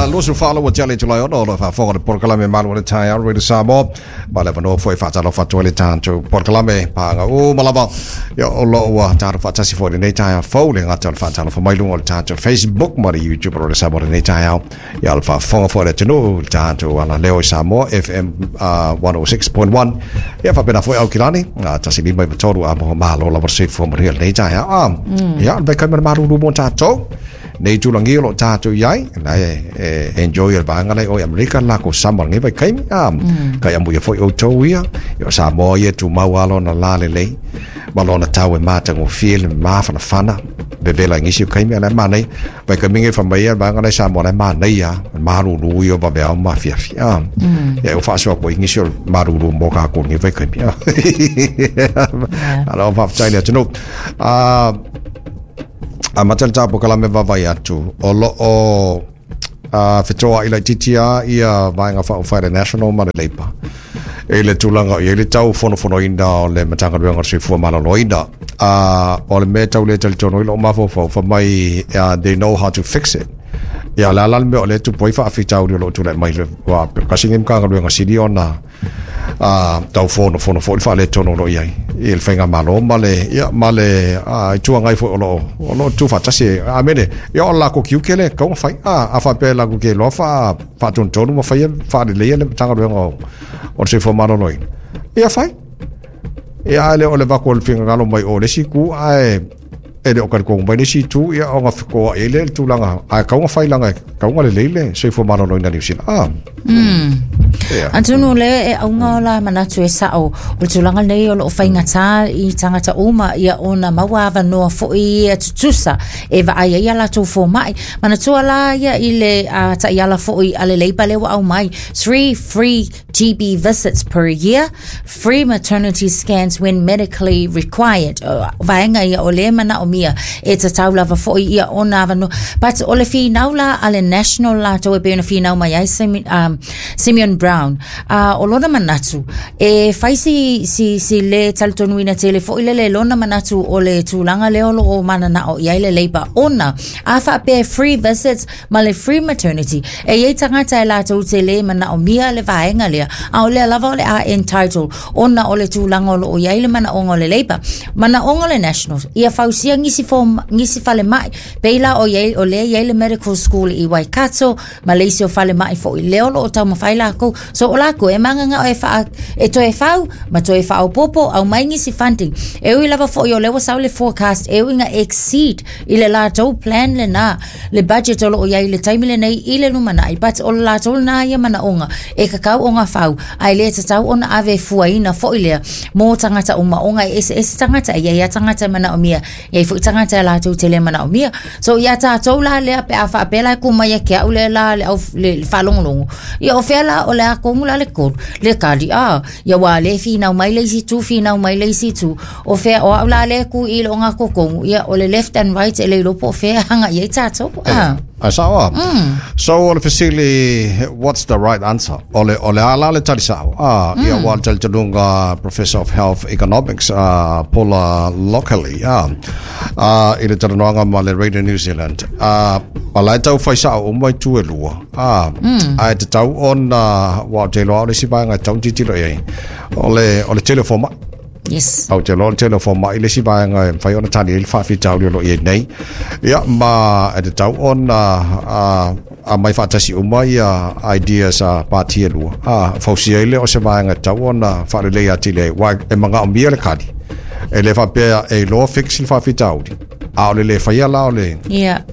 24 ua tea le itula e 6 o lo o faafofoga i le polokalame Malu o le Taeao Radio Samoa. Ma le avanoa foi e faatalofa atu ai le tatou polokalame paaga uma lava. Ia, o lo o ua tatou faatasi foi i lenei taeao fou, le gata o le faatalofa mai luga o le tatou Facebook ma le YouTube o Radio Samoa i lenei taeao. Ia, o le faafofoga foi a le atunuu i le tatou alaleo i Samoa FM 106.1. Ia, faapena foi Aukilani, 153 a malo lava le soifua manuia i lenei taeao. Ah, ia, o le vaikaima le malulu mo tatou. Nei tulagia o lo o tatou i ai, la e, e enjoy le vaega lea o i Amerika, la ko sama lenei vaikaimi. Ah, kai amuia foi outou ia, ia o Samoa ia tumau lava lona la lelei, ma lona tau e matagofie le mafanafana, vevela i nisi o taimi, a o la e manaia. Vaikaimi nei fai mai ia le vaega lea i Samoa, la e manaia lava, malulu ia o vaveao ma afiafi. Ah, ia e faasoa atu ai nisi o le malulu mo kākou i lenei vaikaimi. Ah. Malo faafetai i le atunuu. Ah, amata le tatou polokalame vaavaai atu o lo o fetoai laitiiti lava ia Vaega Faaupufai a le National ma le Labour i le tulaga o i ai le tau fonofonoina o le Matagaluega o le Soifua Maloloina. O le mea e tau le talitonu ai lou mafaufau, fai mai they know how to fix it. Ia, o le a la le mea o lea e tupu ai faafitauli o lo o tulai mai le wā, tasi lenei Matagaluega sili ona tau fonofono foi le faaletonu o lo o i ai i le faigamalo ma le, ia, ma le Itu Agai foi o lo o, o lo o tuufaatasi. Amene, ia o le latou tiute lea e tatau ona fai. A faapea latou te iloa faatonutonu ma faia faaleleia le Matagaluega o le Soifua Maloloina, ia fai. Ia, ae le o le avatu o le finagalo mai o le isi itu, ae e le o talitonu mai le isi itu, ia ona fetoai ai lea i le tulaga, ae tatau ona fai leaga e tatau ona lelei le soifua maloloina o Niu Sila. Ah. Yeah. Atonu o lea e auga o la manatu e sao o le tulaga lenei o lo o faigata i tagata uma ia ona maua avanoa foi ia tutusa e vaai ai a latou fomai. Manatua la ia i le taiala foi a le Labour lea ua aumai, 3 free GP visits per year, free maternity scans when medically required. Vaega ia o lea e manaomia e tatau lava foi ia ona avanoa. But o le finau la a le National latou e pei ona finau mai ai Simeon Brown, o lona manatu, e fai si, si, si le talitonuina tele foi lele lona manatu o le tulaga lea o lo o mananao i ai le Labour ona a faapea free visits ma le free maternity. E i ai tagata e latou te le manaomia le vaega lea, a o lea lava o le a entitle ona o le tulaga o lo o i ai le manaoga o le Labour. Manaoga o le Nationals, ia fausia nisi form, nisi falemai, pei la o, i ai, o lea i ai le medical school i Waikato, ma le isi o falemai foi lea o lo o taumafai lakou. So o lakou e mananao e, wha, e toe fau ma toe faaopoopo aumai nisi funding. E ui lava foi o lea ua sau le forecast e ui ina exceed i le latou plan lena le budget o lo o i ai i le taimi lenei i le lumanai, but o le latou lena ia manaoga e tatau ona fau, ae le tatau ona ave fuaina foi lea mō tagata uma, ona e eseese tagata, e i ai lava tagata e manaomia, e i ai foi tagata e latou te le manaomia. So ia tatou la lea pe a faapea la e kū mai ia te au le la le au le faalogologo, ia o fea la o le a tonu la le tolu, le tali, ah, ia ua le finau mai le isi itu, finau mai le isi itu, O fea, o au la lea e kū i le ogatotonu, ia, o le left and right e le iloa po o fea e hanga i ai tātou. Ah. Ai sao a. So o le fesili, what's the right answer? O le, o le a la le tali sao? Ah, ia ua le talitonuga Professor of Health Economics, Paula Lockley, i le talanoaga ma le Radio New Zealand. Ah, o la e tau fai sao uma itu e lua. Ah, ae tatau ona, ua ou te iloa o le isi vaega e tatau ona tilotilo i ai, o le, o le tele o fomai. Yes. Ou te iloa o le tele o fomai le isi vaega e mafai ona tali ai le faafitauli o lo o i ai nei. Ia, ma e tatau ona aumai faatasi uma ia ideas a pati e lua. Fausia ai lea o se vaega e tatau ona faalelei atili ai, aua e manaomia le kali. E le faapea e iloa fix le faafitauli, a o le le faia la o le,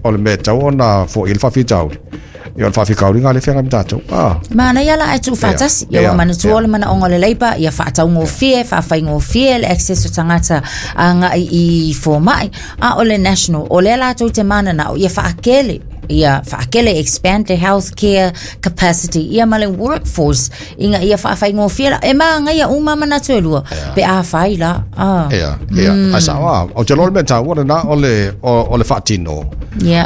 o le mea e tatau ona foia le faafitauli. Ia o le faafitauli lea e feagai ma tatou. Ah. Manaia la ae tuufaatasi. Ia ua manatua o le manaoga o le Labour ia faataugofie, faafaigofie le access o tagata agai i fomai. A o le National, o lea latou te mananao ia faakele ia faakele expand the healthcare capacity ia ma le workforce ina ia faafaigofie la e magaia uma manatu e lua pe a fai la. Ah. Ia, ia. Ai sao a. Ou te iloa o le mea taua lena o le, o le faatino.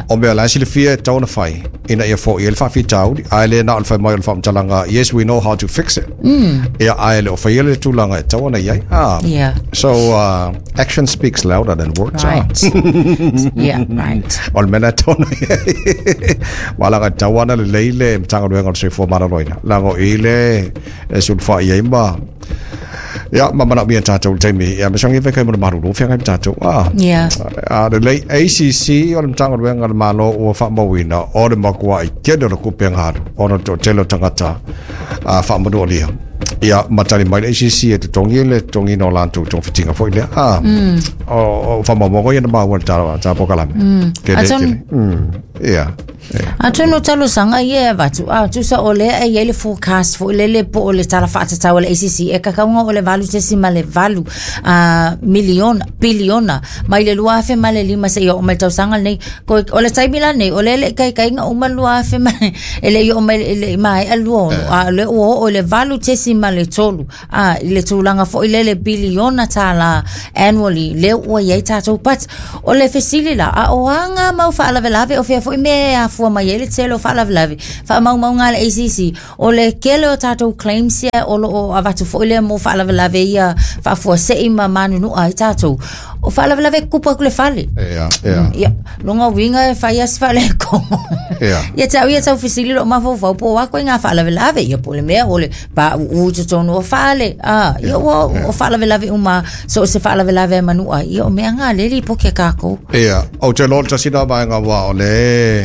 O mea la e silafia e tatau ona fai ina ia foia ai le faafitauli, ae le na o le fai mai o le faamatalaga, yes, we know how to fix it. Ia, ae le o faia le tulaga e tatau ona i ai. Ah. So, action speaks louder than words. Right. Yeah, right. O le mea la e tatau ona i ai. Wala ka tawana le leile Matagaluega o le Soifua Maloloina. Leaga o i le e sulufai ai ma ia ma manaomia e tatou i le taimi ia ma sogi fai kai mo le malulu feagai ma tatou a Yeah. a lelei ACC o le Matagaluega a le Malo ua faamauina o le matuai tele o le tupe galu ona o le toatele o tagata a faamanualia ia ma tali mai le ACC e totogi le totogiina o latou togafitiga foi lea a o o faamaumauga ia na maua i le tala ta polokalame tele Atonu- tele ia Atonu o talosaga ia e avatu, a tusa o lea e i ai le forecast foi lele po o le tala faatatau a le ACC e kakauga o le 8.8 a miliona, piliona mai le 2005 seia oo mai le tausaga lenei. Ko, o le taimi la lenei, o lea e le i taitaiga uma le 2000 ma, e le i oo mai, e le i maea le 26, a o lea ua oo i le 8.3 a i le tulaga foi lele piliona tālā annually lea ua i ai tatou. But o le fesili la, a o a ngā mau faalavelave o fea foi mea e afua mai ai le tele o faalavelave faamaumauga a le ACC o le kele o tatou claims ia o loo avatu foi lea mo faalavelave ia faafuasei ma manunua ai tatou o faalavelave e tutupu atu le fale. Ia, ia. Ia, lona uiga e fai lava si faaletonu. Ia. Ia te au ia tau fesili lou mafaufau po o a koe ngā faalavelave ia po o le mea o le pauu i totonu o fale. Ah, ia ua o faalavelave uma so o se faalavelave e manua ai. Ia o mea ngā le lipoki a kākou. Ia, ou te iloa o le tasi lena vaega aua o le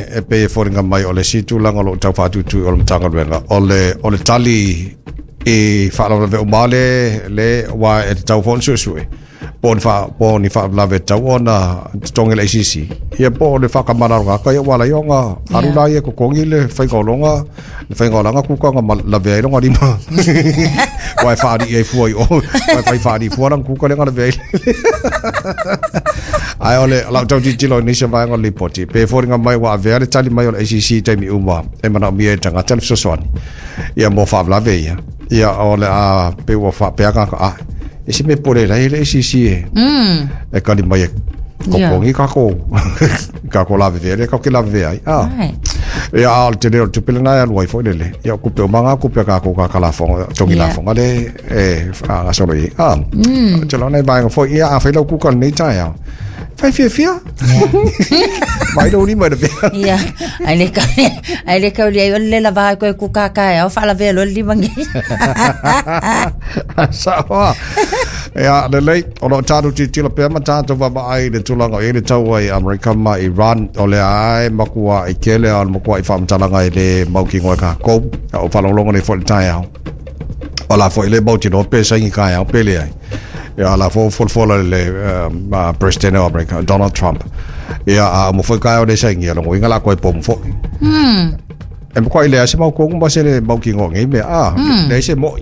e pei e foliga mai o le isi tulaga o lo o tau faatuitui o le Matagaluega, o le, o le tali i faalavelave uma le, le, aua e tatau foi ona suesue. Po o ni wha, po o ni faalavelave e tatau ona totogi e le ACC, ia po o le whakamalaloga ia ua ala ai ona alu la ia totogi le faiga o longa, le faiga o lana kukaga ma lavea ai lona lima. Aua e whaalii ai fua i o, aua e fai whaalii fua lana kuka lea na lavea ai. Ae o le lau tau tilotilo i nisi o vaega o le lipoti, pe foliga mai ua avea le tali mai o le ACC i taimi uma e manaomia e le tagata le fesoasoani ia mo faalavelave ia. Ia o le a pei ua faapea tagata, ah, E se mea pole lai le ACC e. E kali mai e kokongi kako kako lavevea le kako ke lavevea ai. Ah. Right. Ia a o le tele o le tupe lena e alu ai foi lele. Ia o kupe o manga kupe a kākou ka ka lafoga, tongi Yeah. lafoga le e whaagasolo i. Ah. Te lona e vaega foi ia a whai lau kuka lenei taeao. Whai fiafia. Mai lou lima i le vea. Ia, ai le kau, ai le kau liai o le lela vaai koe ku kaka e au whaalavea loa le lima ngei. Saoa. Ia, lelei, o loo tatou tilotilo pea ma tatou vaavaai i le tulaga o i ai le taua i Amerika ma Iran, o lea lava e makuaʻi tele a o le makuaʻi faamatalaga e lē mautinoa e kākou. A o faalogologo nei foi i le taeao. O la foi le mautinoa pe saini taeao pe leai. Ia, o la foi ua folafola le President o Amerika, Donald Trump. Ia, a uma foi taeao le saini, ia lona uiga o le a toe pomu foi. E makuaʻi leai se mautonu ma se le mautinoa o nei mea, a, leai se moʻi.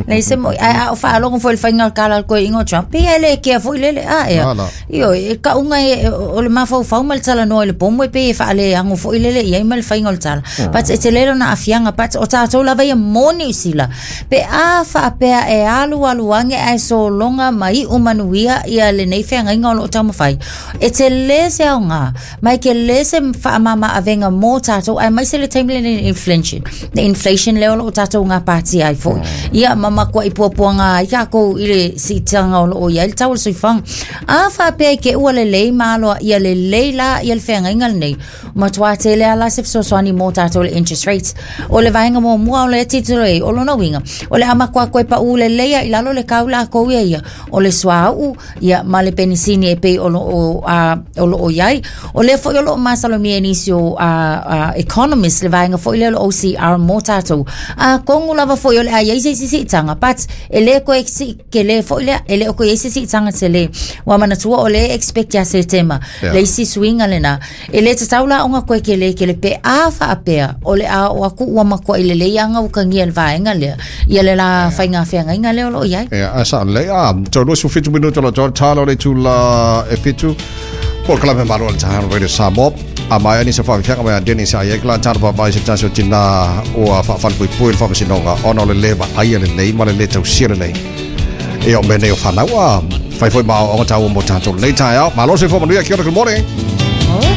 Leai se moʻi. Ae a o faalogo foi i le faiga o le tala a le toeaina o Trump, pei e le kea foi lele, a ea. Ala. Ioe, e kauga e, o le mafaufau ma le talanoa i le pomu e pei e faaleago foi lele i ai ma le faiga o le tala. But e tele lona aafiaga, but o tatou lava ia mo Niu Sila. Pe a faapea e alualu age ae sologa ma iu manuia ia lenei feagaiga o loo taumafai, e tele se aoga ma e tele se faamama-avega mo tatou, aemaise le taimi lenei i le inflation, le inflation lea o loo tatou gapatia ai foi. Ia ma matuai puapuaga ai tatou i le siitaga o loo i ai le tau o le soifuaga. A faapea i te ua lelei ma aloaia lelei la ia le feagaiga lenei, Matua tele lava la se fesoasoani mo tatou i le interest rates. O le vaega muamua o lea tilotilo i ai, o lona uiga, o le a matua toe paʻu lelei lava i lalo le kau lakou ia ia, o le suauu ia ma le penisini e pei o loo a o loo i ai. O lea foi o loo masalomia e nisi o a a economists le vaega foi lea o le OCR mo tatou. Atonu lava foi o le a i ai se isi siitaga, but e le toe sii tele foi lea, e le o toe i ai se siitaga tele. Ua manatua o lea e expect ia Setema le isi suiga lena. E le tatau la ona toe kele kele pe a faapea o le a oo atu ua matuai lelei lava ona utagia e le vaega lea ia le la faiga feagaiga lea o lo o i ai. Ia, a sao lelei. A, toe 27 minute o lo o toe tala o le itula e fitu. Polokalame Malo o le Taeao Radio Samoa. A maea nisi o faafiafiaga mai a Dennis a i ai kala tala vaavaai se tasi o tinā ua faafalepuipui i le faamasinoga ona o le le vaaia lelei ma le le tausia lelei. Ia o mea nei o fanau a fai foi ma aoaoga taua mo tatou lenei taeao. Malo le soifua manuia. Kia ora, good morning.